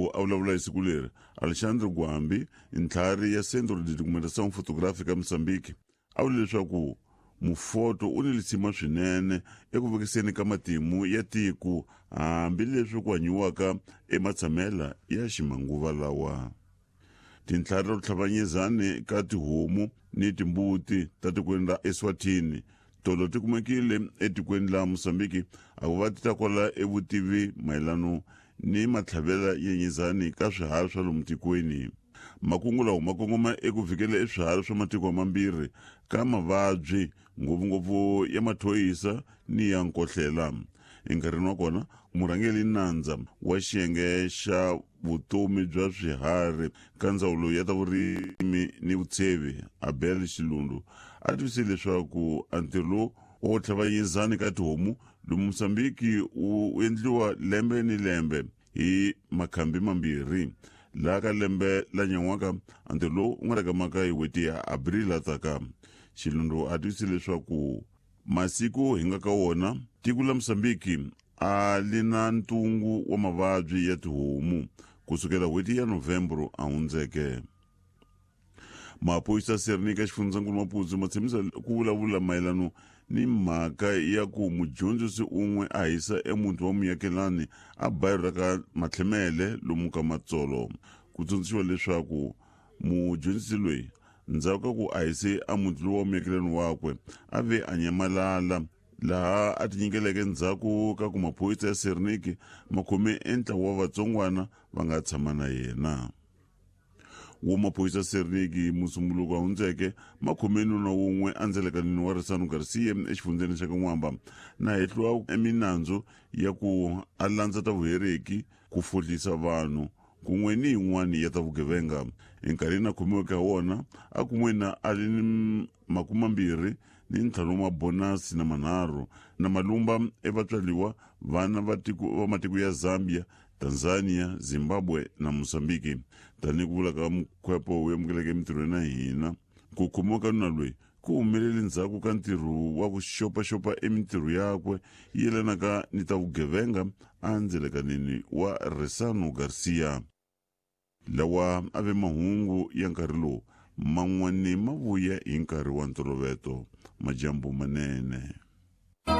Loko a vulavula hi siku leri, Alexandre Gwambi, ntlhari ya Centro de Documentação Fotográfica Moçambique, a vule leswaku mufoto u ni lisima swinene eku vekiseni ka matimu ya tiko hambileswi ku hanyiwaka ematshamela ya ximanguva lawa. Tintlhari ta ku tlhavanyezani ka tihomu ni timbuti ta tikweni ra Eswatini tolo ti kumekile etikweni la Mozambiki a ku va ti ta kwala evutivi mayelano ni matlhavela ya nyizani ka swiharhi swa lomu tikweni. Makungu lawa ma kongoma eku vikela eswiharhi swa matiko mambirhi ka mavabyi ngopfungopfu ya mathoyisa ni ya nkohlela. Enkarhini wa kona murhangeri nandza wa xiyenge xa vutomi bya swiharhi ka ndzawulo ya ta vurimi ni vutshevi Abel Xilundu a tivise leswaku a ntirho lowu wo tlhavanyizani ka tihomu lomu Mozambiki wu endliwa lembe ni lembe hi makhambi mambirhi laha ka lembe la nyan'waka a ntirho lowu wu nga ta kamaka hi n'hweti ya Abril la taka. Xilundu a tivise leswaku masiku hi nga ka wona tiko la Mozambiki a li na ntungu wa mavabyi ya tihomu kusukela n'hweti ya Novembro a hundzeke. Maphorisa Sernika xifundzankulu Maputo ma tshembisa ku vulavula mayelano ni mhaka ya ku mudyondzisi un'we a hisa emuti wa muakelani a bayiro ra ka Matlhemele lomu ka Matsolo. Ku tsundzuxiwa leswaku mudyondzisi loyi ndzhaku ka ku a hise a muti lowu wa muakelani wakwe a ve a nyamalala laha a tinyikeleke ndzhaku ka ku maphorisa ya Serniki ma khome entlawa wa vatsongwana va nga tshama na yena. Wo maphorisa Serniki Musumbuluko a hundzeke ma khome nuna wun'we endzelekanini wa Risano Garcia exifundzeni xa Kan'wamba na hehliwa eminandzu ya ku a landza ta vuhereki, ku fohlisa vanhu kun'we ni yin'wana ya ta vugevenga. Enkarhini a khomiweke ha wona a kumiwe na a ri ni makumambirhi ni ntlhanu wa mabonasi na manharhu na malumba evatswaliwa vana va tiko va matiko ya Zambia, Tanzania, Zimbabwe na Mozambiki. Tanihi ku vula ka mukhwepo wu amukeleke emintirhweni ya hina, ku khomiwa ka nuna loyi ku humelele ndzhaku ka ntirho wa ku xopaxopa emintirho yakwe yi yelanaka ni ta vugevenga endzelekanini wa Resano Garcia. Lawa a ve mahungu ya nkarhi lowu man'wana ma vuya hi nkarhi wa ntoloveto. Majambu manene.